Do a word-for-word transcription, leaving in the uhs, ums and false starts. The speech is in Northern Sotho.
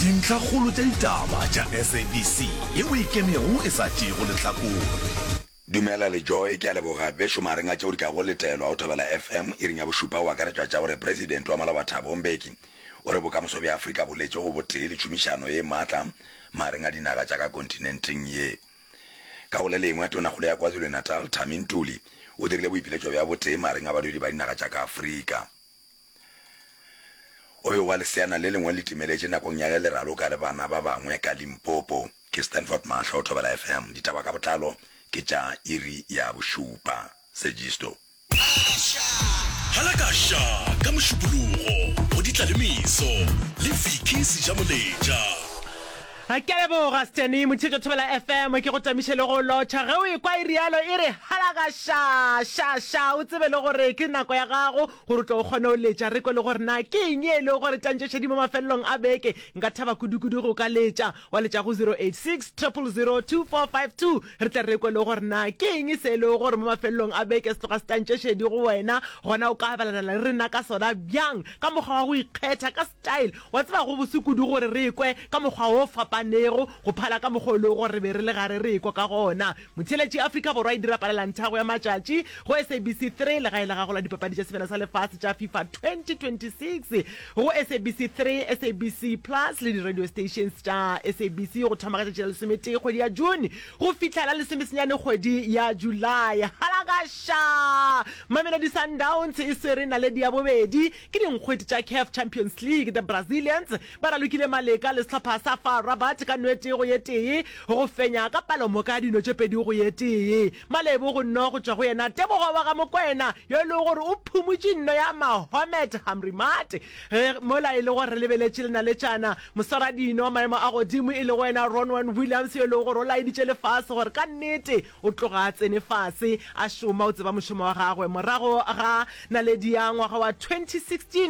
Dintlhakgolo tša ditaba tša S A B C yeo e ikemego e sa tšeego lehlakore. Dumela le Joy, ke a leboga. Bešo magareng a tšeo di kago letelwa go Thobela F M iring ya bošupa go akaretšwa tša gore President wa maloba Thabo Mbeki o re bokamoso bja Afrika bo letše go botee le tšhomišano ye maatla magareng a dinaga tša ka kontinenteng ye. Ka go le lengwe, Tonakgolo ya KwaZulu-Natal Thami Ntuli o dirile boipiletšo bja botee magareng a badudi ba dinaga tša ka Afrika. O be wa leseana le lengwe le timeletše nakong ya ge le raloka le bana ba bangwe ka Limpopo. Ke Stanford Mahlo, Thobela F M. Ditaba ka botlalo ke tša iri ya bošupa. Sejisto. Halakaša ka Mošupologo go Ditlalemeso le Vicky Sejamoletša. Ke a leboga Steny Motšhetšo Thobela F M, ke go tamiše le go lotšha ge o ekwa e rialo e re halakaša ša ša, o tsebe le gore ke nako ya gago gore o tlo o kgone o letša re kwe le gore na ke eng e le gore tantšešedi mo mafelelong a beke. Nka thaba kudukudu go ka letša wa letša go zero eight six zero zero zero two four five two, re tle re kwe le gore na ke eng se e le gore mo mafelelong a beke se tloga se tantšešedi go wena, gona o ka abelana le rena ka sona bjang ka mokgwa wa go ikgetha ka style wa tseba go bose kudu gore re kwe ka mokgwa o fapanego go phala ka mokgwa o le gore re be re le gare re ekwa ka gona. Motheletši, Afrika Borwa e dira palelanthago ya matšatši go S A B C three, legae la gago la dipapadi tša Sebjana sa Lefase tša FIFA twenty twenty-six go S A B C three, S A B C Plus le di-radio stations tša S A B C go thoma ka tšatši la lesometee kgwedi ya June go fihla la lesomesenyane kgwedi ya July. Halakaša! Mamelodi Sundowns e swere naledi ya bobedi ke dinkgwete tša CAF Champions League. The Brazilians ba ralokile maleka le sehlopha sa FAR Rabat ka nwete go ye tee go fenya ka palomoka ya dino tše pedi go ye tee. Malebo go nno go tšwa go yena Tebogo wa ga Mokwena yo e lego gore o phumutše nno ya Mahomet Hamrimat ge mola e le gore re lebeletše lenaletšana moswaradino wa maemo a godimo e lego wena Ronwen Williams yo e lego gore o laeditše lefase gore ka nnete o tloga a tsene fase a šoma, o tseba mošomo wa gagwe morago ga naledi ya ngwaga wa twenty sixteen.